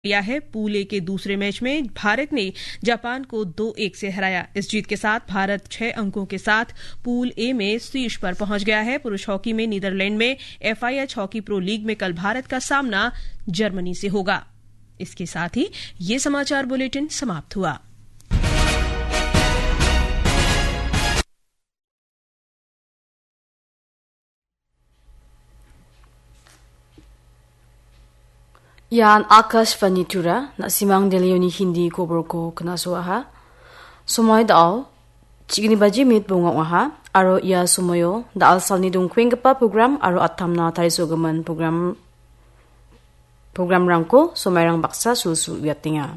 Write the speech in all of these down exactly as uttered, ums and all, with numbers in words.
लिया है। Pool A के दूसरे मैच में भारत ने जापान को दो एक से हराया। इस जीत के साथ भारत छह अंकों के साथ पूल ए में शीर्ष पर पहुंच गया है। पुरुष हॉकी में नीदरलैंड में एफआईएच हॉकी प्रो लीग में कल भारत का सामना जर्मनी से होगा। इसके साथ ही ये समाचार बुलेटिन समाप्त हुआ। Ian Akashvani Tura, na·simang Delhioni Hindi koborko knasoaha. Somoi da·o, chigni baji minit bonga ong·aha, aro ia somoio da·al salni dongkuenggipa program aro atamna tarisogimin program, programrangko somairang baksa sulsul uiatenga.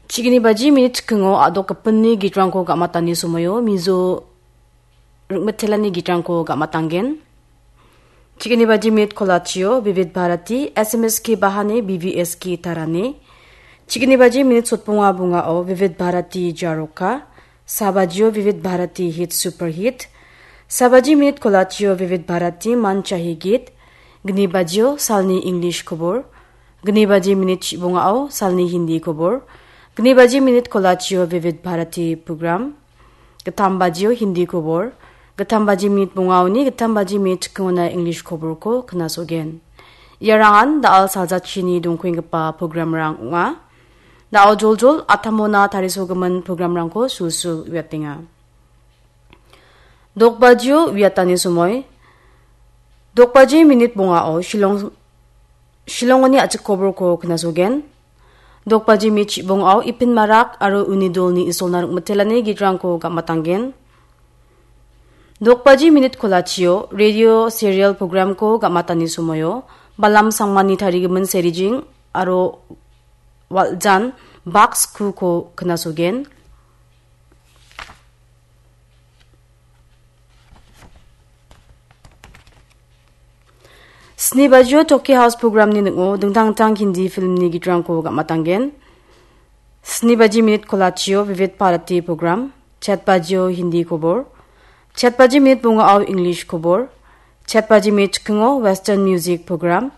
Chigni baji minit chikingo a·dokgipinni gitrangko ga·matani somoio Mizo ringmitelani gitrangko ga·matanggen. Chigni baji minit kolachio Vivid Bharati, S M S K Bahani, B V S K Tarani. Chigni baji minit sotbonga bongao Vivid Bharati Jaroka, sabajio Vivid Bharati Hit Super Hit. Sabaji minit kolachio Vivid Bharati Man Chahi Git. Gni bajio salni English kobor. Gni baji minit chibongao salni Hindi kobor. Gni baji minit kolachio Vivid Bharati program. Gittam bajio Hindi kobor. Gittam baji minit bongaoni gittam baji minit chikingona English koborko knasogen. Iarangan da·al saljachini dongkuenggipa programrang ong·a. Da·o joljol atamona tarisogimin programrangko sulsul uiatenga. Dokbajio uiatani somoi. Dokbaji minit bongao Shillong, Shillongoni a·chik koborko knasogen. Dokbaji minit chibongao Ipin Marak aro uni dolni isolna ringmitelani gitrangko ga·matanggen. Dokbaji minit kolachio radio serial programko ga·matani somoio Balam Sangmani tarigimin Serijing aro Waljan Bak Skuko knasogen. Sni bajio Toki House programni ning·o dingtang dingtang Hindi filmni gitrangko ga·matanggen. Sni baji minit kolachio Vivid Bharati program, chet bajio Hindi kobor, chet baji minit bongao English kobor, chet baji minit chikingo Western music program,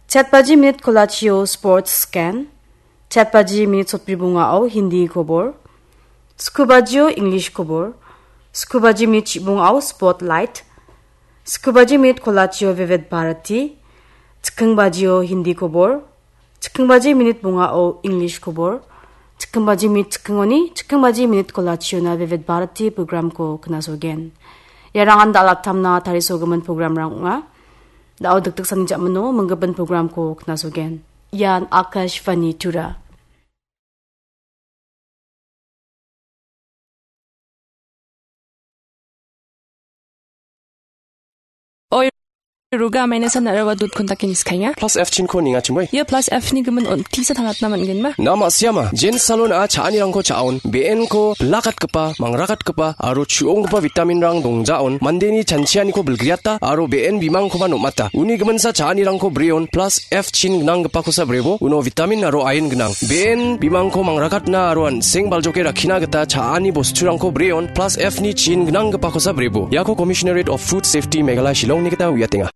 chet baji minit kolachio sports scan, chet baji minit sotbri bongao Hindi kobor, sku bajio English kobor, sku baji minit chibongao Spotlight, sku baji minit kolachio Vivid Bharati, chiking bajio Hindi kobor, chiking baji minit bongao English kobor, chiking baji minit chikingoni, chiking baji minit kolachiona Vivid Bharati programko knasogen. Iarangan da·al atamna tarisogimin programrang ong·a. Da·o dikdiksani ja·mino minggipin programko knasogen. Ian Akashvani Tura. Oi, Ruga, maina san arawa dut kontak ini skanya. Plus F chin ko ninga chimoi. Ia plus F ni gimin on tisa tangatna man gen ma. Na ma siama, Jen Salon a cha·anirangko cha·on, B N ko bilakatgipa, mangrakatgipa, aro chu·onggipa vitaminrang dongjaon, mandeni chanchianiko bilgriata, aro B N bimangkoba nom·ata. Uni giminsa cha·anirangko breon, plus F chin gnanggipakosa brebo, uno vitamin aro iron gnang. B N bimangko mangrakatna aro an·seng baljoke rakkina gita cha·ani bosturangko breon, plus F ni chin gnanggipakosa brebo. Iako Commissionerate of Food Safety Meghalaya Shillongni gita uiatenga.